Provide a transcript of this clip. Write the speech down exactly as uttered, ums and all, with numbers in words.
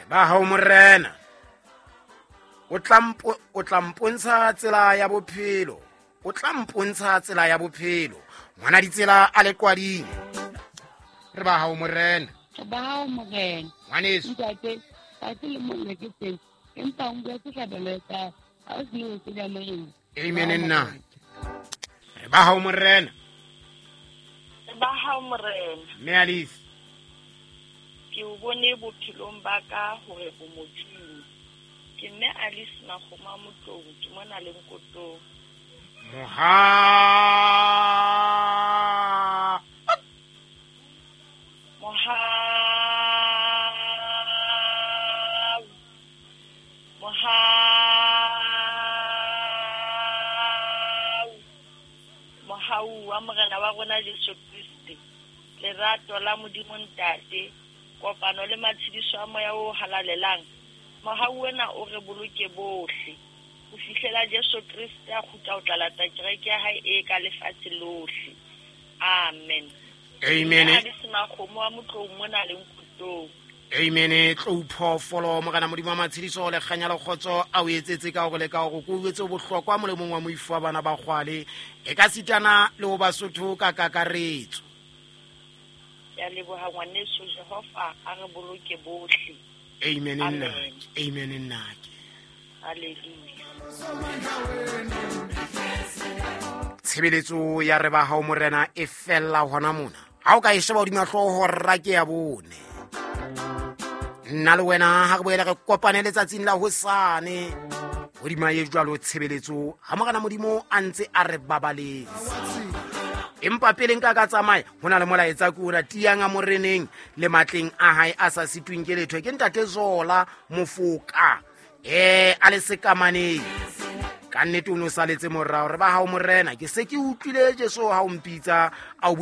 Ba hao morena. O tla mpo, o tla mpontsha tsela ya bophelo. O tla mpontsha tsela ya bophelo. Ngwana ditsela a le qwading. Re ba hao morena. Re ba hao morena. Ngwaneso. Ntate, tsatsi le monna ke teng. Empa o bua sehlabelo sa ha o se o se morena. Amen nna. Re ba hao morena. Re ba hao morena. Mme Alice. Ke o bone bophelong ba ka hore o Modimo. Ke mme Alice Makgoma Motlou, ke mona le Nkotong. Moha Moha Moha Mohau wa Morena wa rona Jesu Kriste, lerato la Modimo Ntate, kopano le matshediso a moya o halalelang. Mohau wena o re boloke bohle ho fihlela Jesu Kriste a kgutla ho tla lata kereke ya hae e ka lefatshe lohle. Amen. Amen. Alice Makgomo wa Motlou mona le Nkotong. Amen. Tlou phoofolo morena Modimo wa matshediso le kganya le kgotso a o etsetse ka hore le ka hore ko etse bohlokwa molemong wa moifo wa bana ba kgwale e ka sitana le ho Basotho ka kakaretso. Ke a leboha ngwaneso, Jehova a re boloke bohle. Amen Amen. nna. Amen nna. Hallelujah. Tshebeletso ya re ba hao morena e fella hona mona. Ha o ka e sheba hodima hlooho rra ke ya bone. Nna le wena ha re boele re kopane letsatsing la hosane. Hodima e jwalo tshebeletso ha morena Modimo a ntse a re babaletse. Empa pele nka ka tsamaya ho na le molaetsa ke ona tiang a moreneng le matleng a hae a sa sitweng ke letho. Ke ntate Zola Mofoka eh a le sekamaneng. Ka nnete o no saletse morao re ba hao morena ke se ke utlwile Jesu ha o mpitsa a o